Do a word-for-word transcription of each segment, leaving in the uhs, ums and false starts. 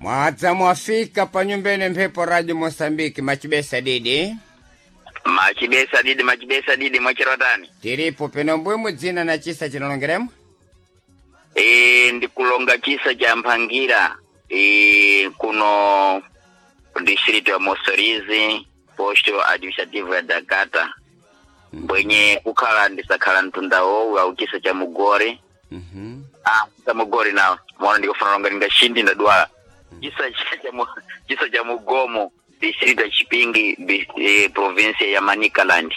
Mwadza mwafika pa nyumbene mphepo Radio Mosambiki machibesa didi. Machibesa didi machibesa didi mwachirotani. Tiripo peno mbwimwe dzina na chisa chinalongeremo? E, ndikulonga chisa cha Mphangira e, kuno distrito ya Mossorizi posto administrativo ya Dakata mbwenye kukhala ndisakhala mtundawo au chisa cha Mugore. Mhm. Ah, cha Mugore nawo mwana ndikufuna longa ndingashindi ndadwala chisa cha mu- chisa cha Mugomo distrito ya Chipingi bi- eh, provinsia ya Manicaland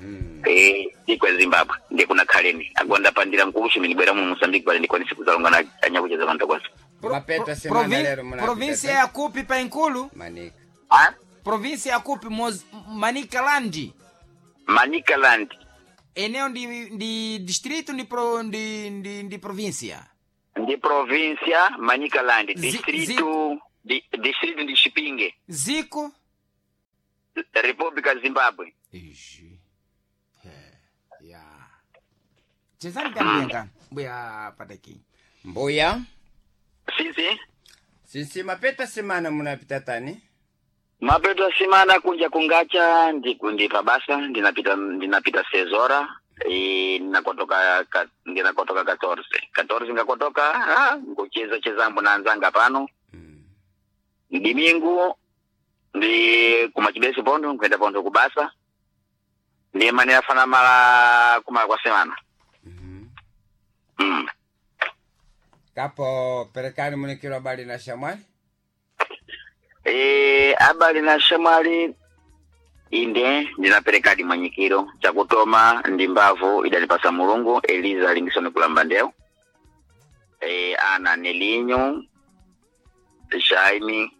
Mhm. eh dziko ya Zimbabwe ndikunakhaleni agonda pandira mkukushi minibwera mu Mozambique pale ndikwanise kuzalonga na anyakucheza vantu kwasa Mapeta semana Provin- lero muna província ya kupi pa Inkulu? Manika. ah Província ya kupi Moz... Manicaland. Manicaland Eneo ndi ndi distrito ndi pro, ndi, ndi, ndi província. ndi provincia Manicaland Zi- distrito di, distrito ndi Chipinge Ziko Republica Zimbabwe Ixi. He. Ya. Chezani kambianga. Mbuya pataki. Mbuya. sisi Sisi mapeta semana munapita tani? mapeto simana kunja kungacha ndikundi pabasa ndinapita ndinapita sezora e, ndinakotoka ka, ndinakotoka katorze katorze ngakotoka ah, ngucheza chezambo na anzanga pano Mm. ndimingu ndi kumachibesi pondo nkuenda pondo kubasa ndiye mane afana mala kumala kwa semana Mhm. mm. Kapo perekani munikiro habari na shamwali? e, abali na shamwali inde ndinaperekadi mwanyikiro chakutoma ndi mbavu idalipasa mulungu eliza lingisoni kulamba ndeu e, ana nelinyo jaime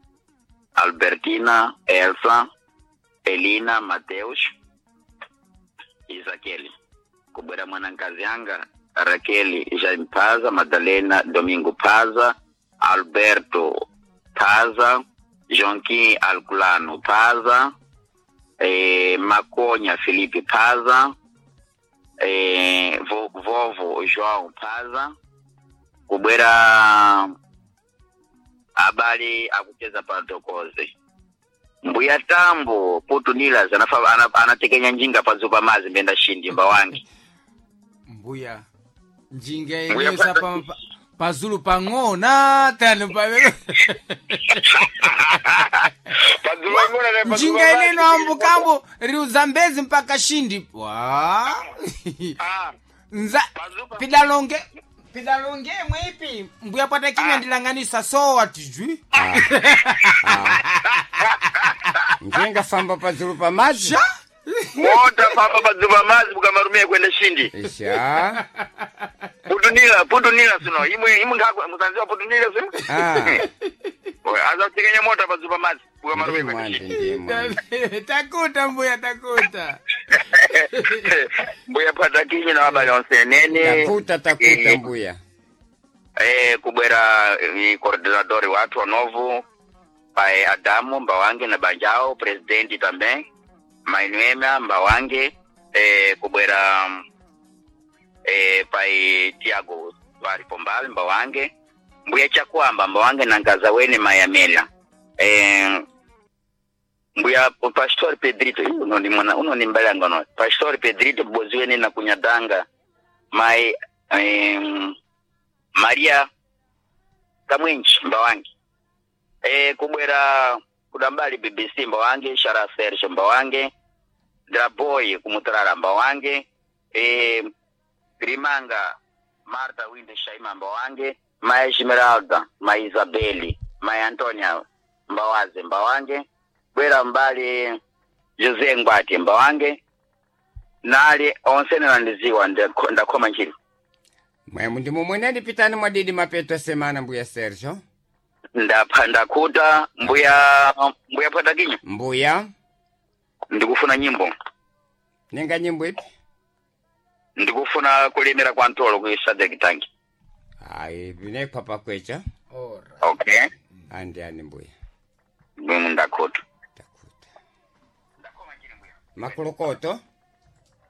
albertina elsa elina mateus isakeli kubwera mwanankazi anga rakeli jaime paza madalena domingo paza alberto paza jonquim alculano paza eh, Maconha Felipe Paza, eh, vo, vovo João Paza, kubwera abale akucheza patokoze mbuya tambo putunilas anafa ana- anatekenya njinga padzupa mazi mbenda shindi mbawangi Mbuya. Njinga Mbuya yenyewe pa- pa, pa, pazulu pang'ona tano pa njinga ineno ambukambo riu Zambezi mpaka Shindi. Wa. Nza pidalonge pidalonge mwipi mbuya pata kimya ndilanganisa sowa tijwi. Njinga famba padzulu pa madzi? Sha. mota papa padzupa mazi bukamarumia kwenda shindi Isha. putunila putunila sino imwe imwe nkhakwe musanziwa putunila sino Ah. azatekenya mota padzupa mazi bukamarumia Ndi kwenda mwandi shindi ndi mwandi. Takuta mbuya takuta. mbuya patakinyi na wabale onse nene Takuta takuta mbuya. eh, kubwera eh, coordinador wathu wanovu pae Adamu Mbawange na banjao presidenti também Mainuema Mbawange eh, kubwera eh, pai Tiago Twari Pombal Mbawange mbuya Chakwamba Mbawange na nkaza wene Mayamela eh, mbuya Pastor Pedrito ih, uno ni mwana uno ni mbalanga no Pastor Pedrito bozi wene na kunyadanga mai eh, Maria Kamwenji Mbawange e, kubwera kudambali B B C Mbawange Shara Serge Mbawange Draboy kumutarara Mbawange e, Grimanga Marta Winde Shaima Mbawange Mai Esmeralda Mai Isabeli Mai Antonia Mbawaze Mbawange bwera mbali Jose Ngwati Mbawange nali onse nalandiziwa ndakho- ndakhoma ntchito Mwemu ndi mumweneni pitani mwadidi mapeto semana mbuya Sergio. ndapha ndakhuta mbuya mbuya phatakinyo Mbuya. ndikufuna nyimbo Nenga nyimbo ipi? ndikufuna kulemera kwa ntolo ku Sadek Tanki Ayi, vinekwa pakwecha. Ora. okay Andi ani mbuya. mwe ndakhuta Takuta. Makulukoto.